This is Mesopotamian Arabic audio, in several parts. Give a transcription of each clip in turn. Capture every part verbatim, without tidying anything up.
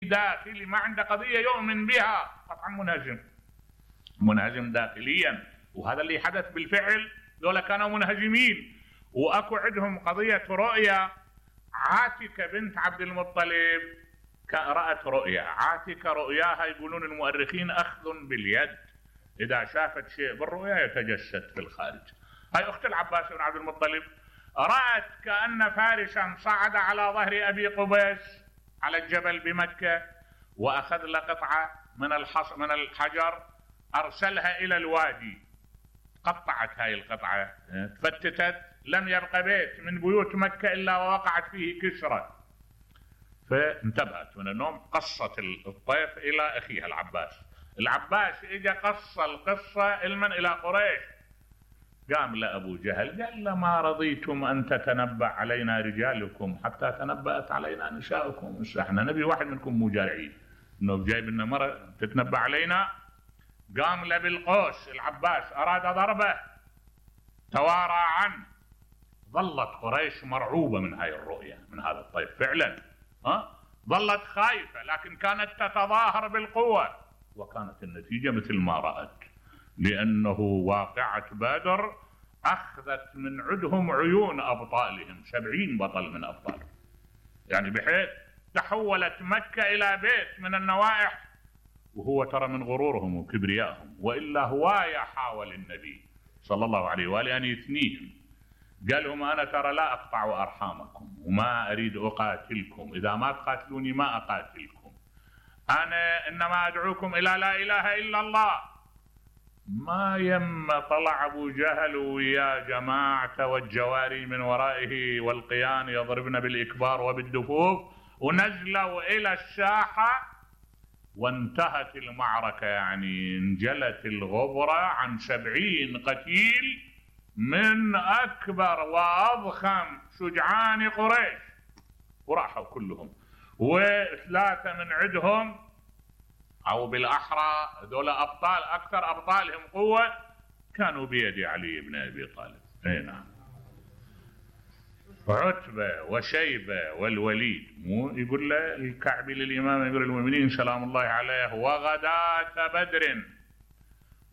داخلي ما عنده قضية يؤمن بها، قطعا منهزم منهزم داخليا. وهذا اللي حدث بالفعل، ذولا كانوا منهزمين. واكو عندهم قضية رؤية. عاتكة بنت عبد المطلب رأت رؤيا. عاتكة رؤياها يقولون المؤرخين أخذ باليد، إذا شافت شيء بالرؤيا يتجسد في الخارج. هاي أخت العباس بن عبد المطلب رأت كأن فارسا صعد على ظهر أبي قبيس على الجبل بمكة، وأخذ له قطعة من الحص من الحجر أرسلها إلى الوادي. قطعت هاي القطعة، تفتتت، لم يبقى بيت من بيوت مكة إلا ووقعت فيه كسرة. فانتبهت من النوم، قصت الطيف إلى أخيها العباس. العباس إجا قص القصة علما إلى قريش. قام لأبو جهل قال له: ما رضيتم أن تتنبأ علينا رجالكم حتى تنبأت علينا نساؤكم. احنا نبي واحد منكم مو جارعين، إنه جايب لنا مرة تتنبأ علينا. قام له بالقوس العباس، أراد ضربه، توارى عنه. ظلت قريش مرعوبة من هاي الرؤية، من هذا الطيف فعلا. ها؟ ظلت خايفة، لكن كانت تتظاهر بالقوة، وكانت النتيجة مثل ما رأت، لأنه واقعة بدر أخذت من عندهم عيون أبطالهم، سبعين بطل من أبطال، يعني بحيث تحولت مكة إلى بيت من النوائح. وهو ترى من غرورهم وكبريائهم، وإلا هواية حاول النبي صلى الله عليه وآله أن يثنيهم. قال لهم: أنا ترى لا أقطع أرحامكم وما أريد أقاتلكم، إذا ما تقاتلوني ما أقاتلكم، أنا إنما أدعوكم إلى لا إله إلا الله. ما يم طلع أبو جهل ويا جماعة والجواري من ورائه والقيان يضربن بالإكبار وبالدفوف، ونزلوا إلى الساحة وانتهت المعركة. يعني انجلت الغبرة عن سبعين قتيل من أكبر وأضخم شجعان قريش، وراحوا كلهم. وثلاثة من عندهم، أو بالأحرى دول أبطال، أكثر أبطالهم قوة، كانوا بيد علي بن أبي طالب. أي نعم. عتبة وشيبة والوليد. مو يقول له الكعبي للإمام أمير المؤمنين سلام الله عليه: وغداة بدر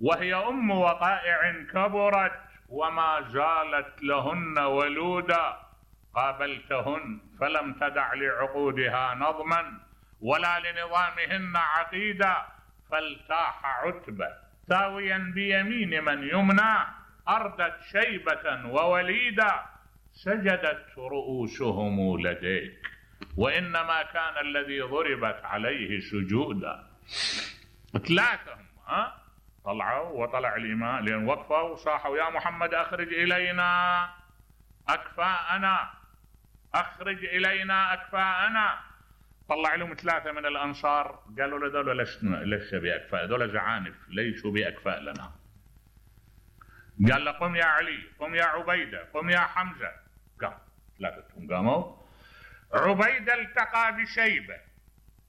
وهي أم وقائع كبرت وما زالت لهن ولودا، قابلتهن فلم تدع لعقودها نظما ولا لنظامهن عقيدا، فالتاح عتبة ثاويا بيمين من يمنى، أردت شيبة ووليدا، سجدت رؤوسهم لديك، وإنما كان الذي ضربت عليه سجودا. ثلاثة ها طلعوا، وطلع الإمام لأن وقفوا وصاحوا: يا محمد أخرج إلينا أكفاءنا، أخرج إلينا أكفاءنا. طلع لهم ثلاثة من الأنصار، قالوا له: ذولا لسه بأكفاء، ذولا زعانف ليسوا بأكفاء لنا. قال له: قم يا علي، قم يا عبيدة، قم يا حمزة. قام ثلاثتهم قاموا. عبيدة التقى بشيبة،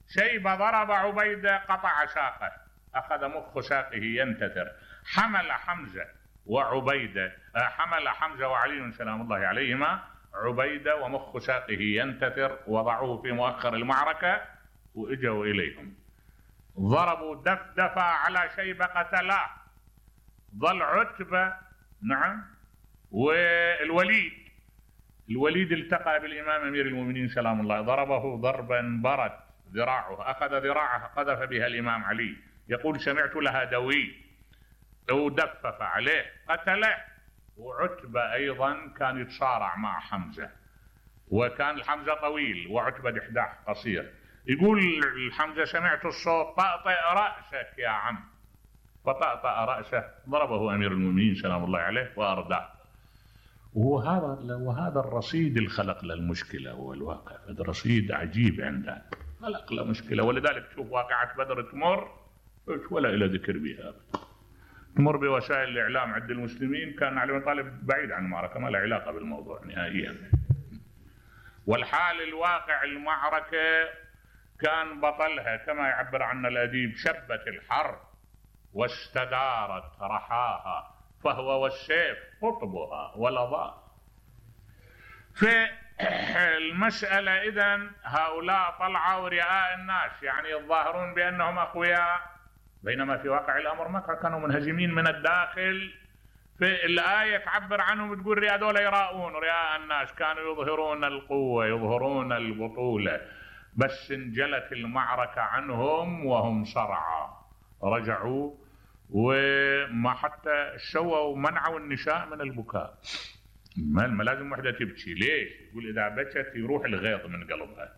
شيبة ضرب عبيدة قطع ساقه، أخذ مخ ساقه ينتثر. حمل حمزة وعبيدة، حمل حمزة وعلي سلام الله عليهما عبيدة ومخ ساقه ينتثر، وضعوه في مؤخر المعركة وإجوا إليهم. ضربوا دفدفة على شيبة قتلاه. ظل عتبة نعم والوليد. الوليد التقى بالإمام أمير المؤمنين سلام الله، ضربه ضربا برد ذراعه، أخذ ذراعه قذف بها الإمام علي، يقول: سمعت لها دوي، ودفف عليه قتله. وعتبة أيضا كان يتصارع مع حمزة، وكان الحمزة طويل وعتبة دحداح قصير. يقول الحمزة: سمعت الصوت، طأطئ رأسك يا عم، فطأطأ رأسه، ضربه أمير المؤمنين سلام الله عليه وأرداه. وهذا وهذا الرصيد الخلق للمشكلة هو الواقع، هذا رصيد عجيب عنده، خلق له مشكلة. ولذلك تشوف واقعة بدر تمر ولا إلى ذكر بها، تمر بوسائل الإعلام عند المسلمين، كان علي بن طالب بعيد عن المعركة، ما له علاقة بالموضوع نهائيا. والحال الواقع المعركة كان بطلها كما يعبر عنه الأديب: شبت الحرب واستدارت رحاها، فهو والسيف قطبها ولظى. المسألة إذن هؤلاء طلعوا رئاء الناس، يعني يظاهرون بأنهم أقوياء، بينما في واقع الأمر ما كانوا منهزمين من الداخل. في الآية تعبر عنهم بتقول هذول يراؤون رئاء الناس، كانوا يظهرون القوة يظهرون البطولة، بس انجلت المعركة عنهم وهم صرعى، رجعوا وما حتى شووا منعوا النساء من البكاء. ما لازم وحدة تبكي، ليش؟ يقول إذا بكت يروح الغيظ من قلبها،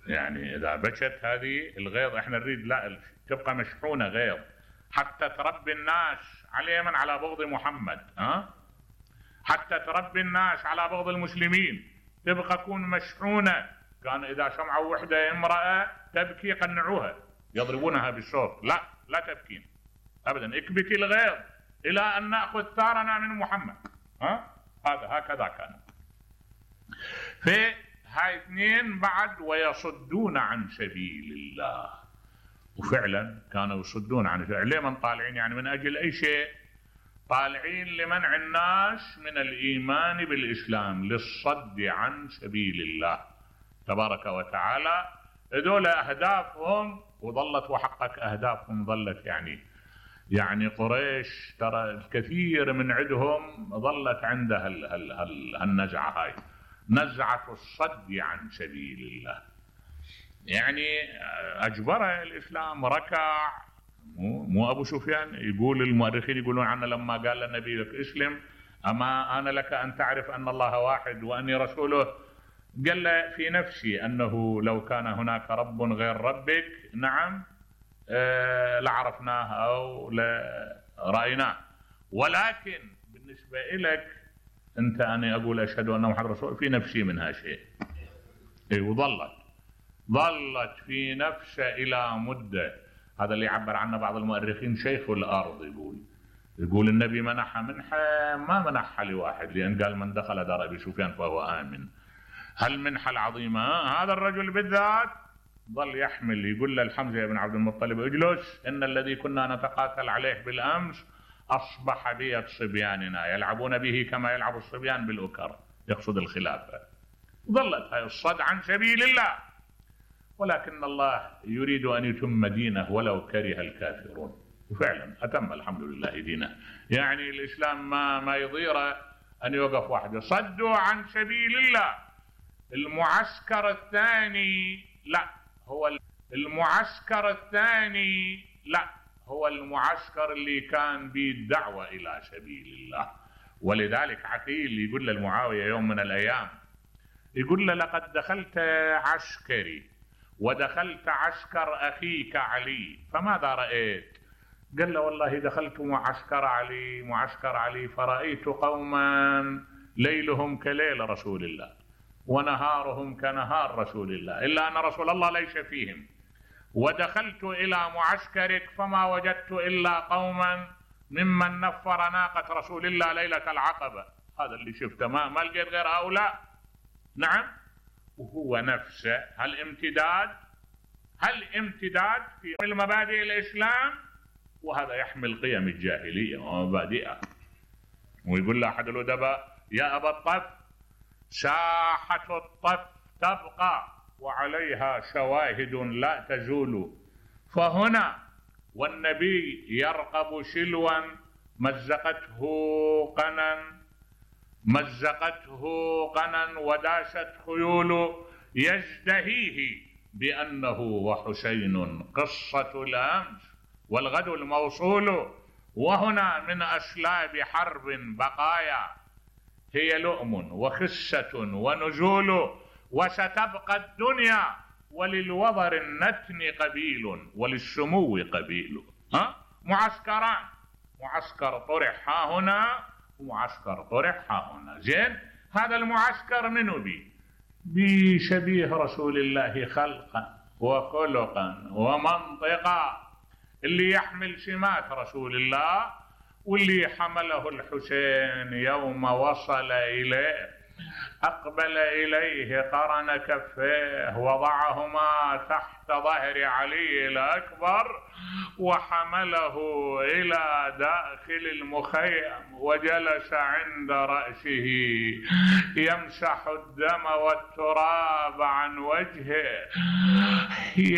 يعني إذا بكت هذه الغيظ إحنا نريد لا تبقى مشحونة غيظ حتى تربي الناس على من على بغض محمد، ها؟ حتى تربي الناس على بغض المسلمين، تبقى تكون مشحونة. كان إذا سمعوا وحدة امرأة تبكي يقنعوها يضربونها بالصوت، لا لا تبكين أبدا، اكبتي الغيظ إلى أن نأخذ ثارنا من محمد، ها؟ هذا هكذا كان. في هاي اثنين بعد ويصدون عن سبيل الله، وفعلا كانوا يصدون عن سبيل الله. ليه من طالعين؟ يعني من أجل أي شيء؟ طالعين لمنع الناس من الإيمان بالإسلام، للصد عن سبيل الله تبارك وتعالى. هذول أهدافهم وظلت وحقق أهدافهم ظلت يعني يعني قريش ترى الكثير من عندهم ظلت عندها هالنزعة هاي، نزعة الصد عن سبيل الله. يعني أجبره الإسلام، ركع. مو, مو أبو سفيان يقول، المؤرخين يقولون عنه لما قال للنبي لك اسلم أما أنا لك أن تعرف أن الله واحد وأني رسوله، قال له في نفسي أنه لو كان هناك رب غير ربك نعم آه لعرفناه أو لرأيناه، ولكن بالنسبة إليك أنت أنا أقول أشهد أن محمد رسول في نفسي منها شيء. إيه وظلت ظلت في نفسه إلى مدة. هذا اللي يعبر عنه بعض المؤرخين شيخ الأرض، يقول يقول النبي منحها منحة ما منحها لواحد، لأن قال من دخل دار أبي سفيان فهو آمن. هالمنحة العظيمة هذا الرجل بالذات ظل يحمل، يقول له الحمزة بن عبد المطلب اجلس إن الذي كنا نتقاتل عليه بالأمس أصبح بيد صبياننا يلعبون به كما يلعب الصبيان بالأكر، يقصد الخلافة. ظلت هاي الصد عن سبيل الله، ولكن الله يريد أن يتم دينه ولو كره الكافرون، وفعلا أتم الحمد لله دينه. يعني الإسلام ما ما يضيره أن يوقف وحده. صدوا عن سبيل الله. المعسكر الثاني لا هو المعسكر الثاني لا هو المعسكر اللي كان به الدعوة إلى سبيل الله. ولذلك عقيل يقول للمعاوية يوم من الأيام، يقول له لقد دخلت عسكري ودخلت عسكر أخيك علي فماذا رأيت؟ قال له والله دخلت معسكر علي معسكر علي فرأيت قوما ليلهم كليل رسول الله ونهارهم كنهار رسول الله إلا أن رسول الله ليس فيهم، ودخلت إلى معسكرك فما وجدت إلا قوما ممن نفر ناقة رسول الله ليلة العقبة. هذا اللي شفته، ما ما لقيت غير هؤلاء. نعم، وهو نفسه هالامتداد هالامتداد في المبادئ الإسلام، وهذا يحمل قيم الجاهلية ومبادئها. ويقول له أحد الأدباء يا أبا الطف ساحة الطف تبقى وعليها شواهد لا تزول، فهنا والنبي يرقب شلوا مزقته قنا مزقته قنا وداست خيول يزدهيه بأنه وحسين قصة الأمس والغد الموصول، وهنا من أسلاب حرب بقايا هي لؤم وخسة ونزول، وستبقى الدنيا وللوضر النتن قبيل وللسمو قبيل. ها؟ معسكران، معسكر طرح ها هنا ومعسكر طرح ها هنا. زين، هذا المعسكر منو بي؟ بشبيه رسول الله خلقا وخلقا ومنطقا، اللي يحمل سمات رسول الله واللي حمله الحسين يوم وصل إليه أقبل إليه قرن كفيه وضعهما تحت ظهر علي الأكبر وحمله إلى داخل المخيم وجلس عند رأسه يمسح الدم والتراب عن وجهه